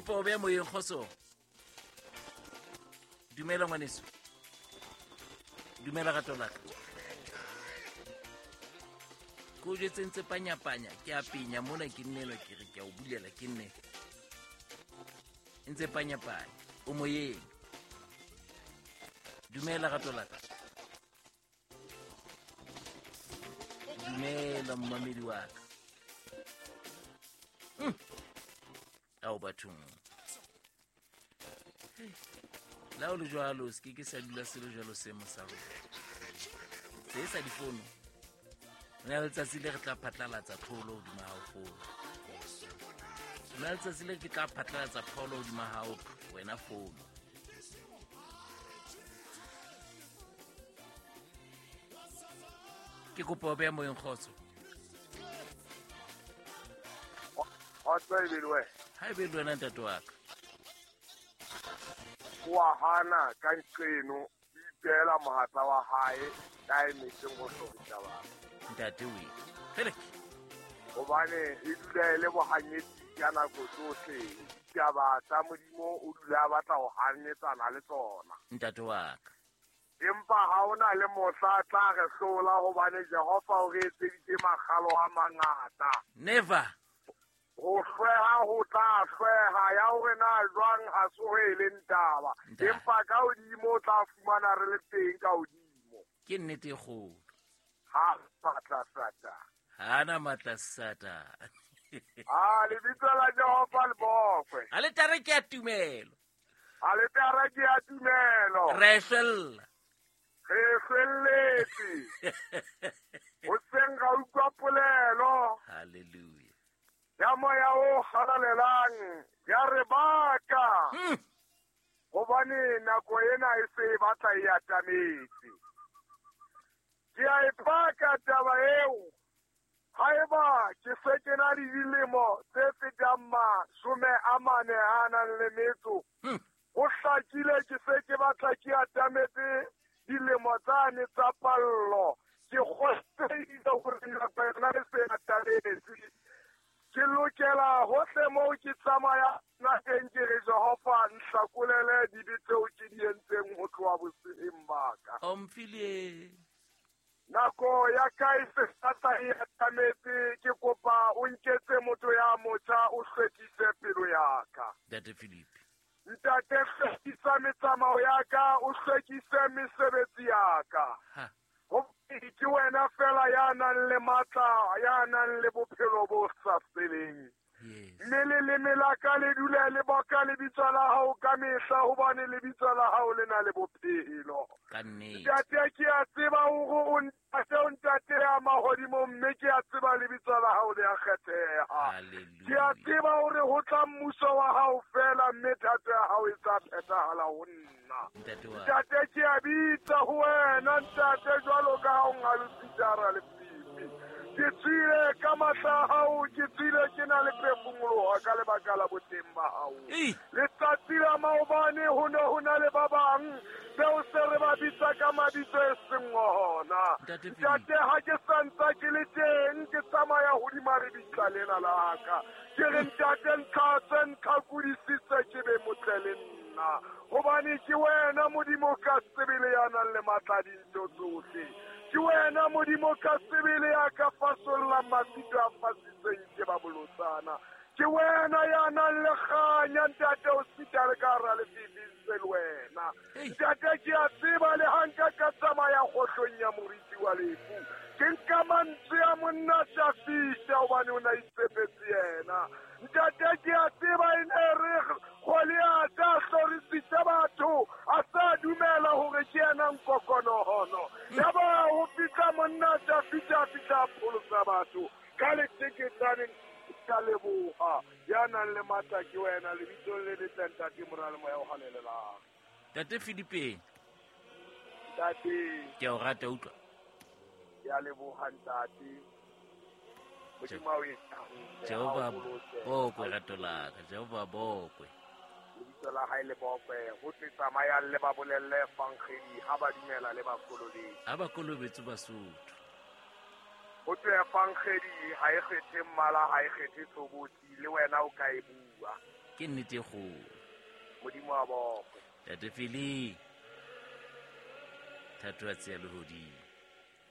Kopa o beya moyeng kgoso. Dumela ngwaneso. Dumela rato la ka. Ko o jwetse ntse panyapanya ke a penya mona ke nnelwa ke re ke a o bulela ke nne. Ntse panyapanya o moyeng. Dumela rato la ka. Dumela mmamedi wa ka. Ao bathong. La o le jwalo se ke ke sa dula se le jwalo seemo sa rona. Se sa difono. Re na letsatsi le re tla phatlalatsa pholo hodima hao fono. Re na letsatsi le ke tla phatlalatsa pholo hodima hao wena fono. Ke kopa o beya moyeng kgotso. Kgotso e be le wena. Ha e be le wena ntate wa ka. Wa hana ka nqeno o ipeela mohatla wa hae ka emetseng ho hlorisa batho. Ntate we. Felix. Hobane e dula e le bohanyetsi ka nako tsohle. Ditaba tsa Modimo o dula a batla ho hanyetsana le tsona. Ntate wa ka. Empa ha ho na le mohla tla re hlola hobane Jehova o re etseditse makgalo a mangata. Never. Ho hlweha ho tla hlweha ya hore na jwang ha se ho e leng taba. Empa ka hodimo o tla fumana re le teng ka hodimo. Ke nnete e kgolo. Ha matla Satane. Ha na matla Satane. A lebitso la Jehova le bokwe. A le tare ke ya tumelo. A le tare ke ya tumelo. Re hlwella. Re hlwelletse. Hoseng ra utlwa polelo. Hallelujah. Ya moya o halalelang ya re baka. Hobane nako ena e se e batla e atametse. Ke a e paka taba eo. Haeba ke se ke na le dilemo tse fetang 44 a nang le metso. Ho hlakile ke se ke batla ke atametse dilemo tsane tsa pallo. Ke kgotsehile hore nako yona e se atametse. Ke lokela hohle moo ke tsamaya naheng ke re Jehova nhlakolele dibe tseo ke di entseng ho tloha boseheng ba ka. Omphile. Nako ya ka e se tla e atametse, ke kopa o nketse motho ya motjha o hlwekise pelo ya ka. Ntate Philip. Ntate hlwekisa metsamao ya ka, o hlwekise mesebetsi ya ka. Ke wena fela ya nang le matla, ya nang le bophelo bo sa feleng. Mme leleme la ka le dule le boka lebitso la hao ka mehla, hobane lebitso la hao le na le bophelo. Ntate ke a tseba hore o ntate, o ntate ya mahodimo, mme ke a tseba lebitso la hao le a kgetheha. Ke a tseba hore ho tla mmuso wa hao fela, mme thato ya hao e tla phethahala ho nna. Ntate ke a bitsa ho wena ntate jwalo ka ha o ngalositse hara lefifi. Ke tswile ka matla a hao, ke tswile ke na le phefumoloho ka lebaka la boteng ba hao. Letsatsi la maobane ho ne ho na le ba bang beo se re ba bitsa ka mabitso e seng ona. Ntate ha ke sa ntsa ke le teng, ke tsamaya hodima lebitla lena la ka. Ke re ntate ntlhatse, ntlhakodisitse ke be motle le nna. Hobane ke wena Modimo ka sebele ya nang le matla a dintho tsohle. Ke wena Modimo ka sebele ya ka fasollang mafito a fasitsweng ke ba bolotsana. Ke wena ya nang le kganya ntate o sita le ka hara lefifi ntse le wena. Ntate ke a tseba le ha nka ka tsamaya kgohlong ya moriti wa lefu. Ke nka mantswe a monna Dafita hobane o na itshepetse yena. Ntate ke a tseba e ne re Goliatha a hlorisitse batho a sa dumela hore ke yena nkokonohono. Yaba ho fihla monna Dafita a fihla a pholosa batho ka leteketsane. Ka leboha ya nang le matla ke wena lebitsong le letle ntate Mora le Moya o halalelang. Ntate Philipe. Ntate. Ke a o rata utlwa. Ke a leboha ntate. Modimo a o etsa. Jehova bokwe rato la ka, Jehova bokwe. Lebitso la hae le bokwe. Ho tse tsamayang le ba bolelle evangeli ha ba dumela le ba kolobetse. Ha ba kolobetse Basotho. Ho tse evangeli ha e kgethe mmala, ha e kgethe tshobotsi, le wena o ka e bua. Ke nnete e kgolo. Modimo a bokwe. Tate Fili, thato ya tseya lehodimo.